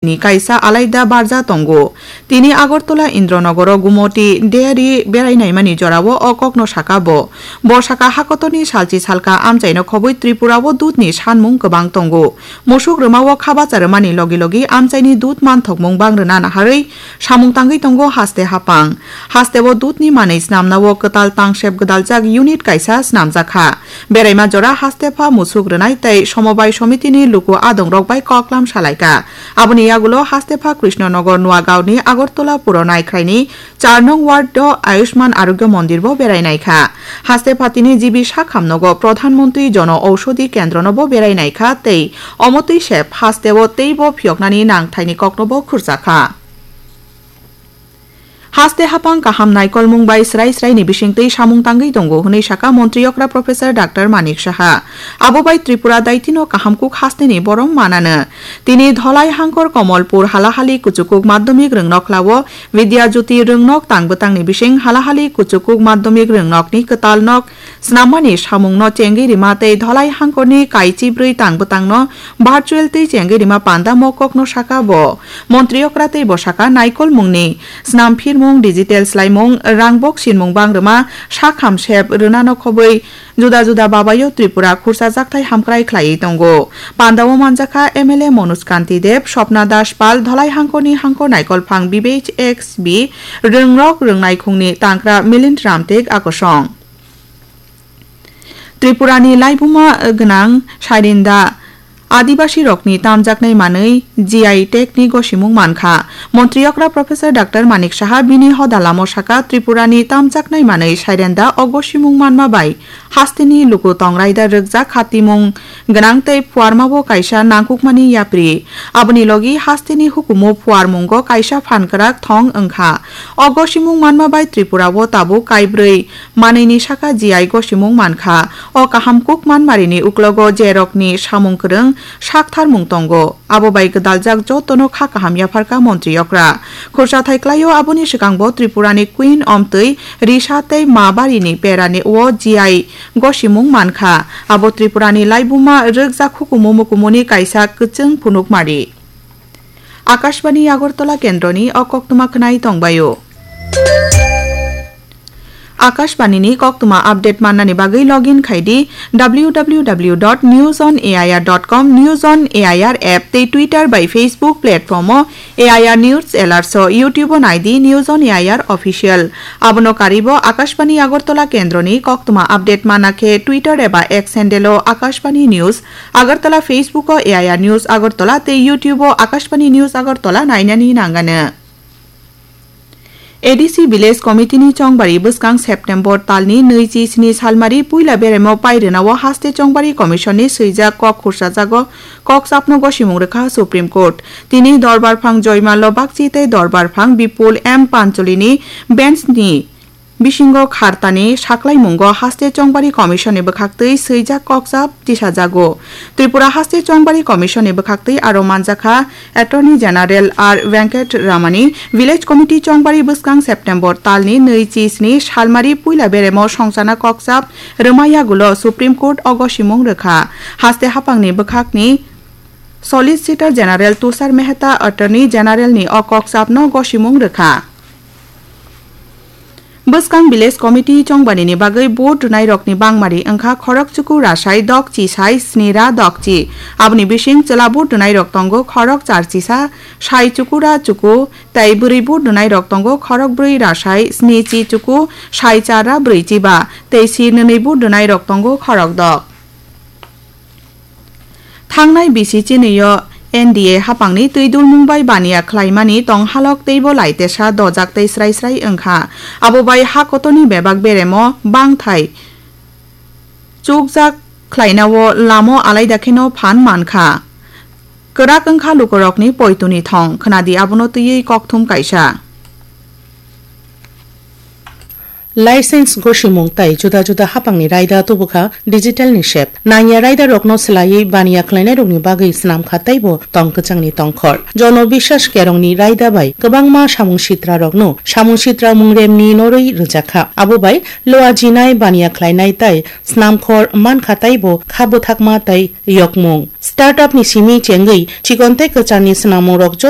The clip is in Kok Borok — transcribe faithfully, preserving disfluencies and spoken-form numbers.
ni kaisa alaida barja tongo. Tini Agartala Indranogoro Gumoti Dairy berai naimani jorao o kokno saka bo. Bo saka hakotorni salchi salka amchaino khobwi Tripurao dudni sanmung kwbang tongo. Musuk rwmao khabacha rwmani logi logi amchaini dud manthokmung bang rwna naharwi samung tangwi tongo haste hapang. Hasteo dudni manwi snamnao kwtal tangsep gwdaljak unit kaisa snamjakha. Beraima jora haste pha musuk rwnai tei somobai somitini luku adongrok bai koklam salaikha. Aboni yagulo haste pha Krishnanagar Nuagaon ni Agartala Puro Naikhrai ni char nong ward o Ayushman Arogya Mondir bo berai naikha. Haste pha tini G B Sakham nogo Pradhan Mantri Jono Aushadhi Kendro no bo berai naikha tei omo twi sep hasteo teibo phiyoknani nangthaini kokno bo khurjakha. Haste hapang kaham naikolmung bai srai srai ni bisingtwi samung tangwi tongo hwnwi saka Montri okra Professor Doctor Manik Saha. Abo bai Tripura daitino kaham kuk haste ni borom manano. Tini Dholai Hangkor Komolpur Halahali Kuchukuk Madhyamik Rwngnok Lao Vidya Jyoti Rwngnok tang bwtang ni bising Halahali Kuchukuk Madhyamik Rwngnok ni kwtal nok Snammani samungno chengwi rima tei Dholai hangkorni kaichi bwrwi tang bwtangno virtual twi chengwi rima panda mokokno saka bo. Montri okra tei bo saka naikolmungni snam phirmung, digital swlaimung, rangbok sinmung bang rwma, sakham sep rwnano khobwi juda juda babaio Tripura khursa jakthai hamkrai khlaiwi tongo. Pandao manjakha M L A Manoj Kanti Deb, Swapna Das Pal, Dholai hangkorni hangkor naikolphang B B H X B rwngrok rwngnaikhungni tangkra Milind Ramtek Akosong. Tripurani laibuma gwnang Sairinda Adibasirokni tamjaknai manwi G I tag ni gosimung mankha. Montri okra Professor Doctor Manik Saha bini hoda lamo saka Tripurani tamjaknai manwi Sairinda o gosimung manma bai hasteni luku tongraida rwkjak khatimung gwnang tei phuarmabo kaisa nangkukmani yapri. Aboni logi hasteni hukumu phuarmungo kaisa phan kwrak thong wngkha. O gosimung manma bai Tripurao tabuk kaibrwi manwini saka G I gosimung mankha. O kaham kuk manmarini uklogo jerokni samung kwrwng saktharmung tongo. Abo bai gwdaljak jotono kha kaham yapharkha Montri okra. Khursa thai klaio aboni swkangbo Tripurani Queen omtwi Risa tei Ma barini perani o G I gosimung mankha. Abo Tripurani laibuma rwkjak hukumu mukumuni kaisa kwchwng phunukmari. Akashbani Agartala kendroni o koktwma khwnai tongbaio. Akashbani ni koktwma update mannani bagwi login khai di W W W dot news on A I R dot com, News on A I R app tei Twitter bai Facebook platform o A I R News Alerts o, YouTube o nai di News on A I R Official. Abono karibo Akashbani Agartala kendroni koktwma update mana khe Twitter eba X handle o Akashbani News Agartala, Facebook o A I R News Agartala tei YouTube o Akashbani News Agartala nainani nangano. A D C Village Committee ni chongbari bwskang September talni nui chi sni salmari puila beremo pairwnao haste chongbari commission ni swijak kok khursajago kok chapno gosimung rwkha Supreme Court. Tini Dorbar Phang Joymallo Bagchi tei Dorbar Phang Bipul M Pancholi ni bench ni bisingo khartani saklaimungo haste chongbari commission ni bwkhaktwi swijak kokchap tisajago. Tripura Haste Chongbari Commission ni bwkhaktwi aro manjakha Attorney General R Venkat Ramani. Village Committee chongbari bwskang September talni nui chi sni salmari puila beremo songchana kokchap rwma yagulo Supreme Court o gosimung rwkha. Haste haphangni bwkhakni Solicitor General Tushar Mehta Attorney General ni o kokchapno gosimung rwkha. Bwskang Village Committee chongbanini bagwi vote rwnairokni bangmari wngkha khorok chuku rasai dokchi sai sni ra dokchi. Aboni bising chwla vote rwnairok tongo khorok charchisa sai chuku ra chuku, tei bwrwi vote rwnairok tongo khorok brwi rasai sni chi chuku sai char ra brwi chi ba, tei sir nwnwi vote rwnairok tongo khorok dok. Thangnai bisi chinwi-o N D A haphangni twi dulmung bai baniya khlaimani tong halok teibo lai tesa dojak tei srai srai wngkha. Abo bai ha kotorni bebak beremo bangthai chukjak khlainao lamo alaida kheno phan mankha. Kwrak wngkha lukurokni poituni thong, khwnadi abono twiwi kokthum kaisa. License gosimung tai juda juda haphangni raida tubukha digital ni sep. Nangya raidarokno swlaiwi baniya khlainairokni bagwi swnam kha teibo tong kwchangni tongkhor. Jono Biswas Kerongni raida bai kwbangma samung sitrarokno samung sitra mungremni norwi rwjakha. Abo bai loa jinai baniya khlainai tei swnamkhor mankha teibo kha bwthakma tei yokmung. Startup ni simi chengwi chikon tei kwcharni swnamungrok joto